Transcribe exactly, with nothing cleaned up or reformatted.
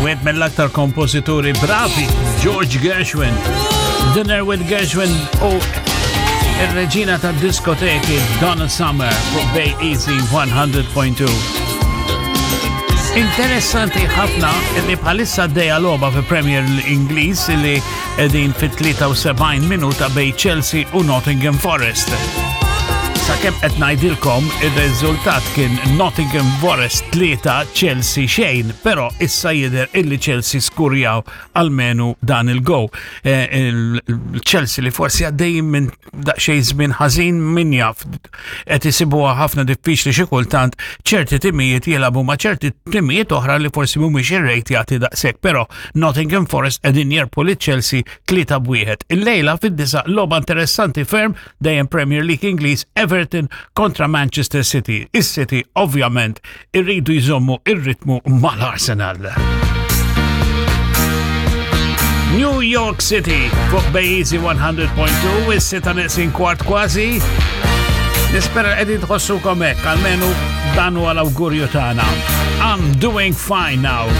Wieħed mill-aktar kompożituri bravi, George Gershwin. Dinner with Gershwin u ir-reġina tad diskoteki Donna Summer fuq Bay Easy one hundred point two. Interessanti ħafna li bħalissa għaddejja logħba fi Premier Ingliż li qegħdin fit tlieta u sebgħin minuta bejn Chelsea u Nottingham Forest. Sakemm qed ngħidilkom, ir-riżultat kien Nottingham Forest tlieta, Chelsea xejn, però issa jidher illi Chelsea skurjaw almenu dan il-goal. Eh, il-Chelsea li forsi għaddejjin minn daqsxejn żmien ħażin, min jaf, qed isibuha ħafna diffiċli xi kultant ċerti timijiet jilagħbu ma' ċerti timijiet oħra li forsi mhumiex irrejtjati daqshekk, però Nottingham Forest qegħdin jirbħu lil Chelsea tlieta b'wieħed. Illejla fid-disgħa logħba interessanti ferm, dejjem Premier League Ingliż, Everton kontra Manchester City. Is-City ovvjament irridu jżommu ir-ritmu mal-Arsenal. New York City fuq Bay Easy one hundred point two, is-sitta neqsin kwart kważi. Nispera qegħdin tħossukom hekk, almenu dan huwa l-awgurju tagħna. I'm doing fine now.